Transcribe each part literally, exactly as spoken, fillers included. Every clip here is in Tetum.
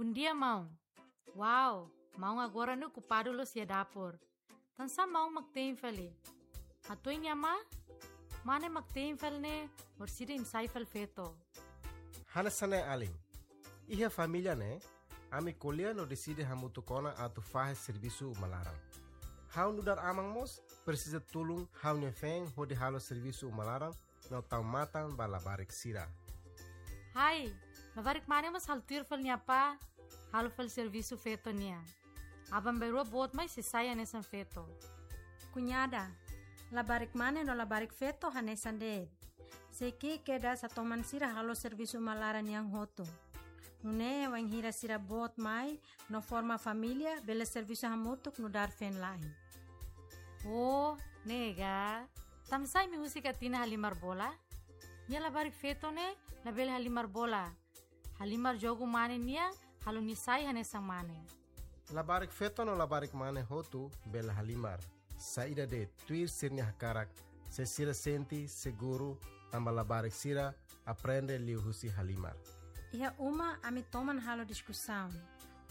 Bondia, maun. Wow, maun agora ne'e okupadu loos iha dapur. Tansá maun mak te'in fali? Hato'o nia amá, mane mak te'in fali ne'e, orsida imi sai fali feto. Hanesan ne'e alin. Iha família ne'e, ami ko'alia no deside hamutuk ona atu fahe servisu uma laran. Ha'u nu'udar aman mós presiza tulun ha'u-nia feen hodi halo servisu uma laran no tau matan ba labarik sira. Hai, labarik mane mós halo tuir fali nia apá, halo fali servisu feto nian. Aban-bainrua boot mai sei sai hanesan feto. Kuñada, labarik mane no labarik feto hanesan de'it. Sei ki'ik kedas atu toman sira halo servisu uma laran nian hotu. Nune'e wainhira sira boot mai no forma família, bele servisu hamutuk nu'udar feen-la'en. Oh, ne'e ka. Tansá imi husik Atina halimar bola? Nia labarik feto ne'e labele halimar bola. Halimar jogu mane nian, halo nia sai hanesan mane. Labarik feto no labarik mane hotu bele halimar. Saida de'it, tuir sira-nia hakarak, se sira sente seguru, tanba labarik sira aprende liuhusi halimar. Iha uma ami toman halo diskusaun.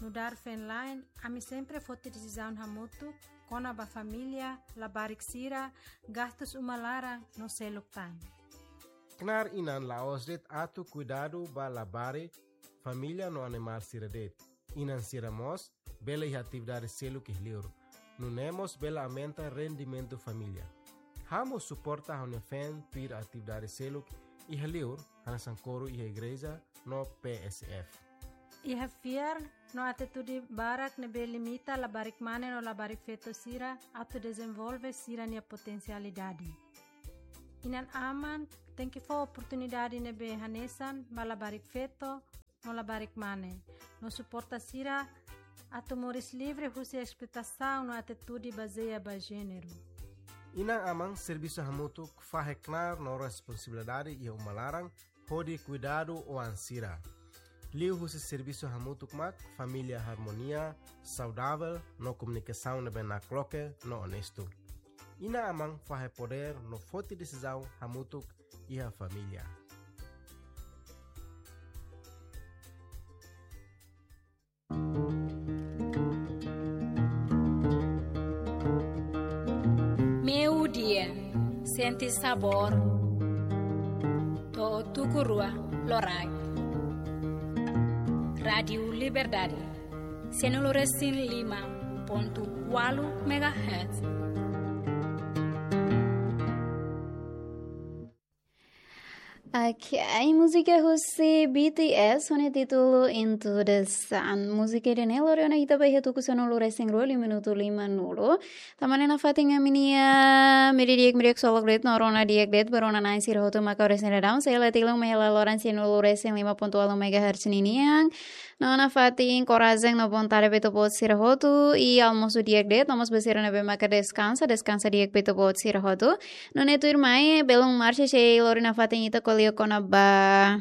Nu'udar feen-la'en, ami sempre foti desizaun hamutuk kona-ba família, labarik sira, gastus uma laran no seluk tan. Knaar inan la'ós de'it atu kuidadu ba labarik, família no animál sira de'it. Inan sira mós bele iha atividade seluk iha liur. Nune'e mós bele aumenta rendimentu família. Ha'u mós suporta ha'u-nia feen tuir atividade seluk iha liur, hanesan koru iha igreja no P S F. Iha fiar no atitude barak ne'ebé limita labarik mane no labarik feto sira atu dezenvolve sira-nia potensialidade. Inan-aman tenke fó oportunidade ne'ebé hanesan ba labarik feto no labarik mane, no suporta sira atu moris livre husi esploitasaun no atitude bazeia ba jéneru. Inan-aman servisu hamutuk fahe knaar no responsabilidade iha uma laran hodi kuidadu oan sira. Liuhusi servisu hamutuk mak família harmonia, saudavel no komunikasaun ne'ebé nakloke no onestu. Inan-aman fahe podér no foti desizaun hamutuk iha família. Meiudia, sente sabór, to'o tuku rua loraik. Rádiu Liberdade, sanulu-resin-lima pontu ualu megahertz. Ok, múzika husi B T S ho nia títulu Into the Sun. Múzika ida-ne'e lori ona ita ba iha tuku sanulu-resin-rua, liu minutu limanulu. Tanba ne'e nafatin ami-nia media di'ak, media ksolok de'it no rona di'ak de'it ba rona-na'in sira hotu maka oras ne'e daudaun sei la tilun mai hela loron sanulu-resin-lima pontu ualu megahertz ninian. No nafatin korajen no vontade ba ita-boot sira hotu, i almosu di'ak de'it, no mós ba sira ne'ebé maka deskansa, deskansa di'ak ba ita-boot sira hotu. Nune'e tuirmai, belun Marcia sei lori nafatin ita ko'alia kona-ba.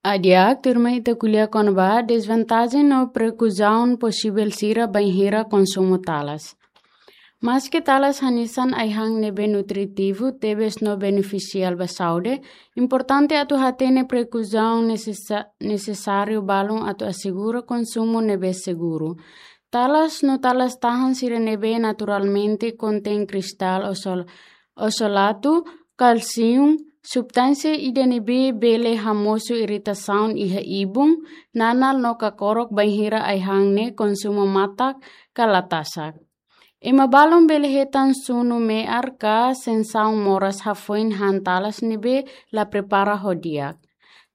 Di'ak, tuirmai ita ko'alia kona-ba desvantajen no prekausaun posivel sira bainhira konsumu talas. Maske talas hanesan ai-han ne'ebé nutritivu tebes no benefisiál ba saúde, importante atu hatene prekausaun nesesa-, nesesáriu balun atu asegura konsumu ne'ebé seguru. Talas no talas-tahan sira ne'ebé naturalmente kontein kristál osol-, oxalato, kalsium, substánsia ida ne'ebé bele hamosu iritasaun iha ibun, nanál no kakorok bainhira ai-han ne'e konsumu matak ka la tasak. Ema balun bele hetan sunu me'ar ka sensaun moras hafoin han talas ne'ebé la prepara ho di'ak.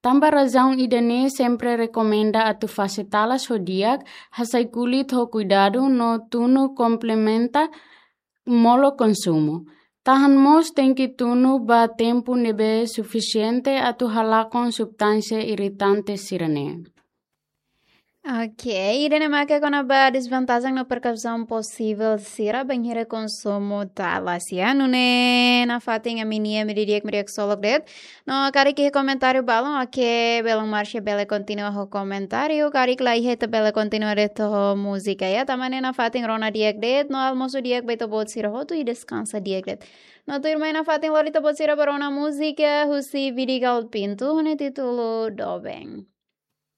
Tanba razaun ida-ne'e sempre rekomenda atu fase talas ho di'ak, hasai kulit ho kuidadu no tunu komplementa molok konsumu. Tahan mós tenke tunu ba tempu ne'ebé sufisiente atu halakon substánsia iritante sira-ne'e. Ok, ida-ne'e maka kona-ba desvantajen no prekausaun posivel sira bainhira konsumu talas, ya. Nune'e nafatin ami-nia media di'ak, media ksolok de'it. No karik iha komentáriu balun, ok, belun Marcia bele kontinua ho komentáriu, karik la iha ita bele kontinua de'it ho múzika, ya. Tanba ne'e nafatin rona di'ak de'it, no almosu di'ak ba ita-boot sira hotu i deskansa di'ak de'it. No tuirmai nafatin lori ita-boot sira ba rona múzika husi Vidigal Pinto, ho nia títulu Doben.